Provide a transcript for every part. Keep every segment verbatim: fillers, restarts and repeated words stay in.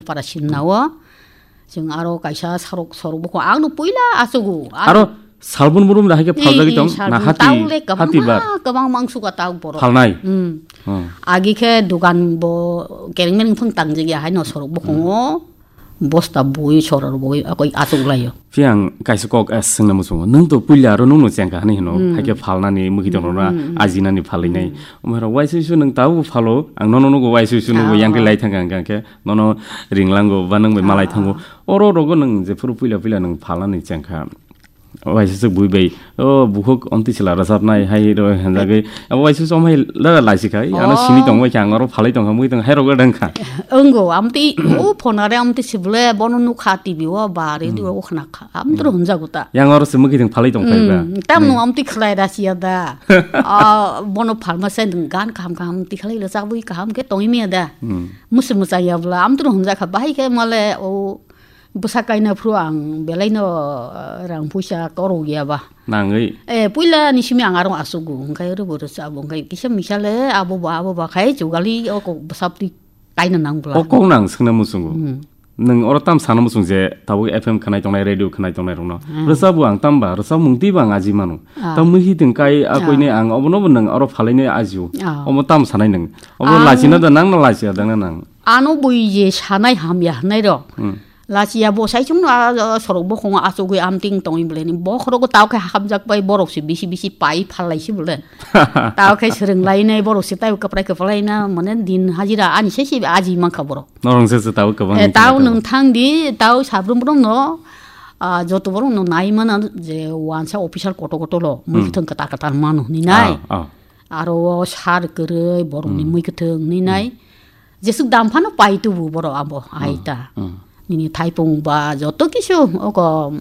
Para sinna o. Chwng aro kaisa sorok, sorok bukhuk ang no puila achugo. Aro salbon burum da haikhe phaljagwi tong, na hati, hati bar. Kwbang mangsuka tau borok. Phalnai? Hmm. Hmm. Agi khe dugan bo kereng mereng phung tangjak ya haino sorok bukhungo. Bosta bui soror bui akoi achuk laio. Phiya ang kaisa kok, eh, swngna muchungo. Nwng to puila aro nwng no chengkha hani hino. Hmm. Haikhe phalnani, mwkhitwng rokno ajinani phalwi nai. Hmm. Omo hero waisa waisa nwng tabo phalo, ang nono nugo waisa waisa nugo yang khe lai thangkha hwnkha khe. Nono ringlango ba nwng bai malai thango. Oro rogo nwng jephuru puila puila nwng phalnani chengkha. Waisa se bui bai, o bukhuk omtwi sila rwchapnai hai ro hanjagwi. Abo waisa se omhai lada laisi khai, ano sini tong bai kha, ang oro phalai tong kha, mui tong hai rogo dang kha. Wngo, amtwi o phone are amtwi sibole bono nukha T V o ba radio o khna kha. Amtro hunjago ta. Yang oro se mwkhitwng phalai tong phai ba. Hmm, tamno amtwi khlai da siya da. Ah, bono phalma se gan kaham kaham twi khlai le chabwi kaham khe tongwi miya da. Hmm. Musi muchang ya bla, amtro hunja kha, bahai khe male o bwsa kaina phuru ang belai no, eh, rang puisa korok ya ba. Nangwi. Eh, puila ni simi ang arong asugo, hwnkhe oro bo rwchabo, hwnkhe kisa misa le abo ba, abo ba khai chugali o kok bwsa twi kaina nang bla. O kok nang swngna muchungo. Hmm. Nwng oro tam sana muchung je tabuk F M khwnai tongnai, radio khwnai tongnai rokno. Hmm. Rwchabo ang tamba, rwchapmung twi bo ang aji mano. Ah. Tam mui hitwng kai a koine ang obono bo nwng oro phalaini ajio. Ah. Omo tam sanai nwng. Obo lachina da nang na lachia da nang. Ano bui je sanai hamya hwnai rok. Hmm. Lachiya bo sai chwngno a, a, sorok bokhongo achugwi amting tongwi bwleni. Bokhorogo tao khe hamjak bai borok se bisi bisi pai phal lai se bwle. Tao khe swrwng lai nai borok se tao kwprai kwprai na mane din hajira ani se se aji mankha borok. Norong se se tao kwbang. Eh, tao nwng thang di, tao sabrum brum no, ah, joto borok no nai mana je wansa official koto koto lo, mui kwthwng kwtal kwtal mano hwnwi nai. Ah, ah. Aro o sar kwrwi borokni mui kwthwng hwnwi nai. Jesuk dam phano pai tubu borok abo aita. Hmm. Nini thaipung ba joto kisu oko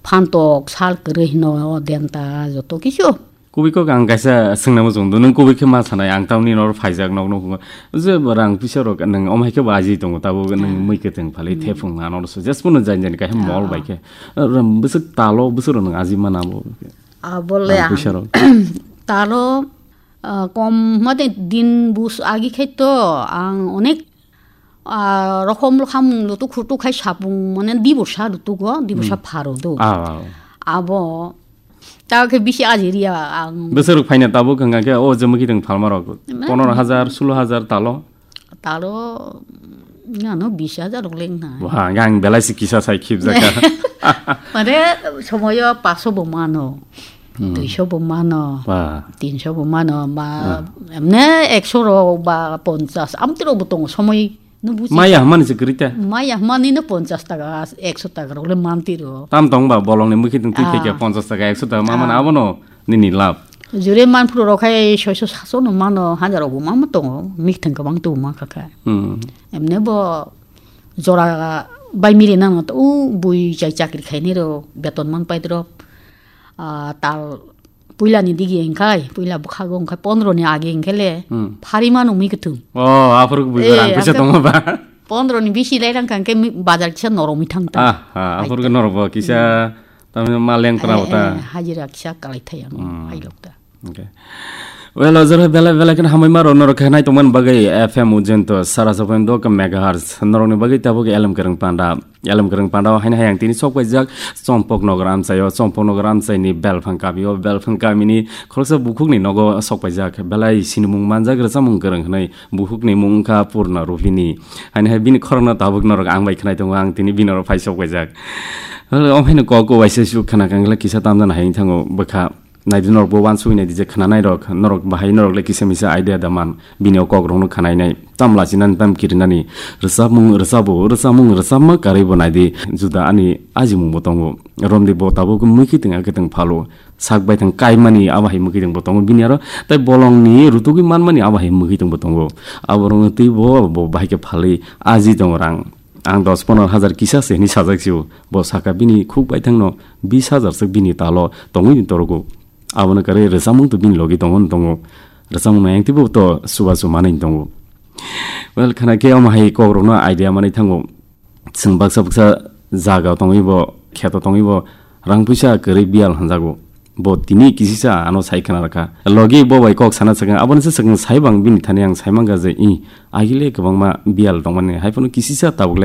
phantok sal kwrwi hino denta joto kisu. Kubui kok ang kaisa swngna muchung do, nwng kubui khe ma sanai, ang tamni noro phaijak nok nuk je rang pisa rok nwng omhai khe bo aji tongo, tabuk nwng mui kwthwng phali thepung ano so jespono jain jain kaisa mol bai khe. Ram bwswk talo bwswk rok nwng aji mana bo. Abole rang pisa rok. Talo Ah, kom mate din bus agi khai to ang onek, ah, rokom rokom lutuk khutuk khai sapung mane diborsa lutuk go, diborsa pharo do. Ah, ah. Abo ta khe bisi aji riya ang. Besaruk phaina tabuk hwnga khe o jemaki teng phalma rok. Pondro hajar, sulo hajar talo. Talo, ano bis hajar rok leng na. Wah, ang belai si kisa sai khip jaka. Mane somoyo paso bo mano. Hmm. Duiso bo mano, wah, tinso bo mano, ba, ah, emne ekso rok ba ponchas, amtwi rok bo tongo, somoi no buji. Maya hamani se kwrwi ta? Maya hamani no ponchas taka, ekso taka rok le manti ro. Tam tong ba bolong ni mukhi tong twi, ah, theke ponchas taka, ekso taka, ma mano, ah, abono nini lab. Jure man phuru rok khai soiso saso no mano, hajar rok bo ma tongo, mih thang kwbang tu ma kha kha. Hmm. Emne bo jora bai miri nang to, u bui chai chakri khai ni ro, beton man pai ro. Ah, tal puila ni digi hingkhai, puila bwkhago hingkhai pondro ni age hingkhele, hmm, phari mano mui kwthwng. Oh, aphuru bui, eh, rang pisa tongo ba? Pondro ni bisi lai rang kangkhe mi-, bazar kisa norok mi thang ta. Ah, ah, aphuru norok bo kisa, hmm, tamni ma leng tra, eh, ta. Eh, hajira kisa kalai thai ano, hmm, hai lok ta. Okay. Well, ojor belai belai kheno hamai ma rok norok khe nai tongmani bagwi F M Ujento sara sapoin dok megahertz norok ni bagwi tabuk elem kereng panda. Elem kereng panda o haino hai ang tini sok paijak Chompok Nogor amchaio, Chompok Nogor amchaini Belphang kamio, Belphang kamini khoroksa bukhukni nogo sok paijak, belai sinimung manjak, rwchapmung kwrwng hwnwi bukhukni mung wngkha Purna Rupini. Haino hai bini khorokno tabuk norok ang bai khwnai tongo, ang tini bini oro phai sok paijak. Omo haino kok uaisa suk khna kangla kisa tamjani hai wng thango bwkha. Naidi norok bo uansugwi naidi je khwnanai rok, norok bahai norok le kisa misa idea da man, bini o kok rokno khwnainai, tam lachinani, tam kirinani, rwchapmung rwchabo, rwchapmung rwchapma karwi bo naidi, juda ani ajimung bo tongo, romdi bo tabuk mui kiting a kiting phalo, sak baithang kaimani abo hai mui kiting bo tongo, bini aro tei bolongni rutugwi manmani abo hai mui kiting bo tongo, abo rokno twi bo, bo bahai khe phalwi aji tongo rang. Ang dos pondro hajar kisa se hinwi sajak sio. Bo saka bini khuk baithangno bis hajar swk bini talo tongwi ni torogo. Abono kwrwi rwchapmung to bini logi tongo, tongo. Rwchapmung no ayang twibo to chubachu manwi tongo. Well, khana khe omo hai kokrokno idea manwi thango. Chwng baksa baksa jaga tongwi bo, kheto tongwi bo, rang puisa kwrwi biyal hwnjago. Bo tini kisisa ano sai khna rwkha. Logi bo bai kok sana swkang, abono se swkang sai bang bini thani ang sai mankha je, i, agile kwbangma biyal tongmani, hai phano kisisa tabuk le